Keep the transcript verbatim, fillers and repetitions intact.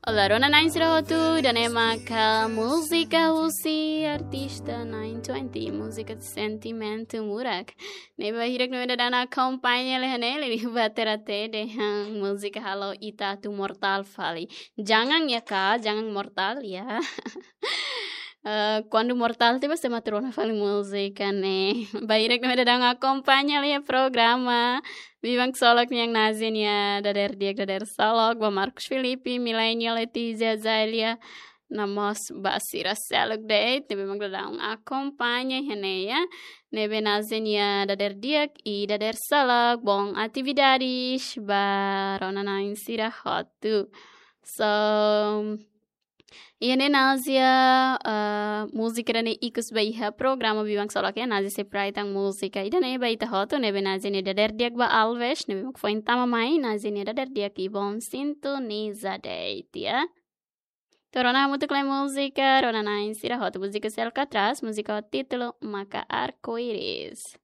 Olá, rona-na'in sira hotu, ida-ne'e maka múzika husi artista nine twenty, múzika Sentimentu Murak. Ne'ebé bainhira ne'e daudaun akompaña lia ne'e, liuliu ba terate dehan múzika halo ita atu mortál fali. Jangan ya, Kak, jangan mortal ya. Eh, kuandu mortál tiba, se matrona fali múzika ne'e. Bainhira ne'e daudaun akompaña lia programa Biban Ksolok nian, naze nia dadeer di'ak, dadeer ksolok ba Marcos Filipe, Milenia, Letizia, Zélia, no mós ba sira seluk de'it ne'ebé mak daudaun akompaña iha ne'e ya. Ne'ebé naze nia dadeer di'ak i dadeer ksolok, bom atividades ba rona-na'in sira hotu. So, iha ne'e naze, eh, múzika ida-ne'e ikus ba iha programa Biban Ksolok ya, naze sei prai tan múzika ida-ne'e ba ita hotu, ne'ebé naze nia dadeer di'ak ba Alves, ne'ebé mak foin tama mai, naze nia dadeer di'ak i bom sintoniza de'it ya. Entaun rona hamutuk lai múzika, rona-na'in sira hotu, múzika seluk atrás, múzika ho títulu maka Arco-Íris.